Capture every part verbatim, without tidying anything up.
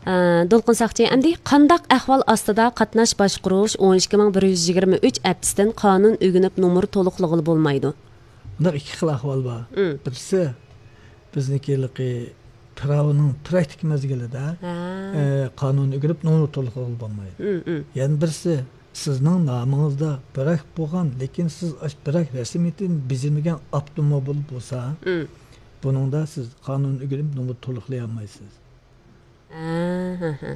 ئە، دولقۇن ساقچى، ئەمدى قانداق ئەھۋال ئاستىدا قاتناش باشقۇرۇش ئون ئىككى مىڭ بىر يۈز يىگىرمە ئۈچ ئەپتىسىدىن قانۇن ئۆگىنىپ نومۇر تولۇقلىغىلى بولمايدۇ؟ بۇنداق ئىككى خىل ئەھۋال بار. مم. بىرسى، بىزنىڭكى ھېلىقى پىراۋنىڭ پراكتىك مەزگىلىدە، ھە. ئە، قانۇن ئۆگىنىپ نومۇر تولۇقلىغىلى بولمايدۇ. مم، مم. يەنە بىرسى، سىزنىڭ نامىڭىزدا بىراك بولغان، لېكىن سىز ئاش-، بىراك رەسمىيىتىنى بېجىرمىگەن ئاپتوموبىل بولسا، مم. بۇنىڭدا سىز قانۇن ئۆگىنىپ نومۇر تولۇقلىيالمايسىز. ھە، ھە، ھە.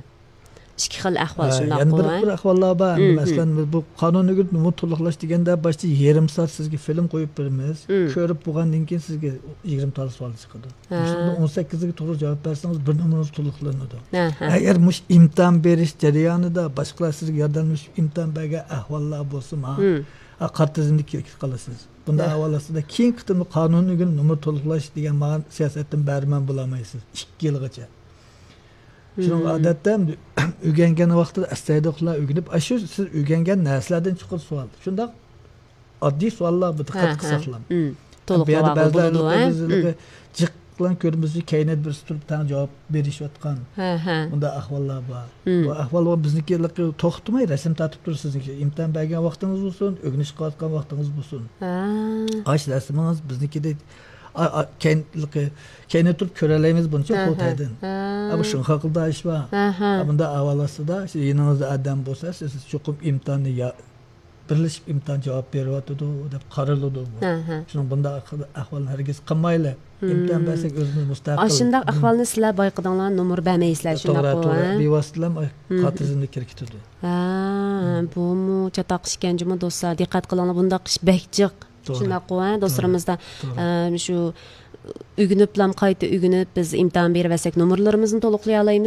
ئىككى خىل ئەھۋال، ھە، شۇنداققۇ، يەنە بىر، ھە؟ بىر ئەھۋاللار بار. مم، مەسىلەن، مم. بىز بۇ قانۇن ئۆگىنىپ نومۇر تولۇقلاش دېگەندە، باشتا يېرىم سائەت سىزگە فىلىم قويۇپ بېرىمىز. مم. كۆرۈپ بولغاندىن كېيىن سىزگە يىگىرمە تال سوئال چىقىدۇ. ھە. مۇشۇنىڭدا ئون سەككىزگە توغرا جاۋاب بەرسىڭىز، بىر نومۇرىڭىز تولۇقلىنىدۇ. ھە، ھە. ئەگەر مۇشۇ ئىمتىھان بېرىش جەريانىدا باشقىلار سىزگە ياردەملىشىپ ئىمتىھان بەرگەن ئەھۋاللار بولسىمۇ، مم. ھە، قارا تىزىملىككە كىرىپ قالىسىز. بۇنداق ھە. ئەھۋال ئاستىدا كېيىنكى قېتىمدا قانۇن ئۆگىنىپ نومۇر تولۇقلاش دېگەن مانا سىياسەتتىن بەھرىمەن بولالمايسىز. ئىككى يىلغىچە. شۇنىڭغا مم. ئادەتتە ئۆگەنگەن ۋاقتىدا ئەستايىدىللار ئۆگىنىپ، ئاشۇ سىز ئۆگەنگەن نەرسىلەردىن چوقۇم سوئال. شۇنداق ئاددىي سوئاللار بۇ دىققەت ھە، ھە. قىلساقلا. مم. بۇ يەردە تولۇقلىۋالغىلى بەزىلەر بولىدۇ، ھە؟ مم. جىق بىلەن كۆرمىسى كەينىدە بىرسى تۇرۇپ تەڭ جاۋاب بېرىشىۋاتقان ھە، ھە. بۇنداق ئەھۋاللار بار. مم. بۇ ئەھۋال بىزنىڭكى توختىماي رەسىم تارتىپ تۇرىسىز. ئىمتىھان بەرگەن ۋاقتىڭىز بولسۇن، ئۆگىنىش قىلىۋاتقان ۋاقتىڭىز بولسۇن. ھە. ئاش رەسىمىڭىز بىزنىڭكىدەك ئا-، ئا-، كەينىدە تۇرۇپ كۆرەلەيمىز بۇنچە ھە، قۇرۇلتايدىن. ھە. ھە. ئا، بۇ شۇڭخەقلىق دائىش بار. ھە، ھە. ئا، بۇنداق ئەھۋال ئاستىدا، شۇ يېنىڭىزدا ئادەم بولسا، سىز چوقۇم ئىمتىھاننى يا-، بىرلىشىپ ئىمتىھان جاۋاب بېرىۋاتىدۇ دەپ قارىلىدۇ بۇ. ھە، ھە. شۇنىڭ بۇنداق ئەھۋالنى ھەرگىز قىلمايلى. مم. ئىمتىھان بەرسەك ئۆزىمىز مۇستەقىل. ئاشۇنداق ئەھۋالنى سىلەر بايقىدىڭلار، نومۇر بەرمەيسىلەر، توغرا، شۇنداققۇ، توغرا. ھە؟ بىۋاسىتىلا مم. قاتىزىمنى كىرگۈزىدۇ. ھە، بۇمۇ چاتاق ئىكەن جۇمۇ دوستلار، دىققەت قىلىڭلار، بۇنداق ئىش بەك جىق. توغرا. شۇنداققۇ، ھە، توغرا. دوستلىرىمىزدا، توغرا. ئە، شۇ ئۆگىنىپلام قايتا ئۆگىنىپ، بىز ئىمتىھان بېرىۋەرسەك، نومۇرلىرىمىزنى تولۇقلىيالايمىز.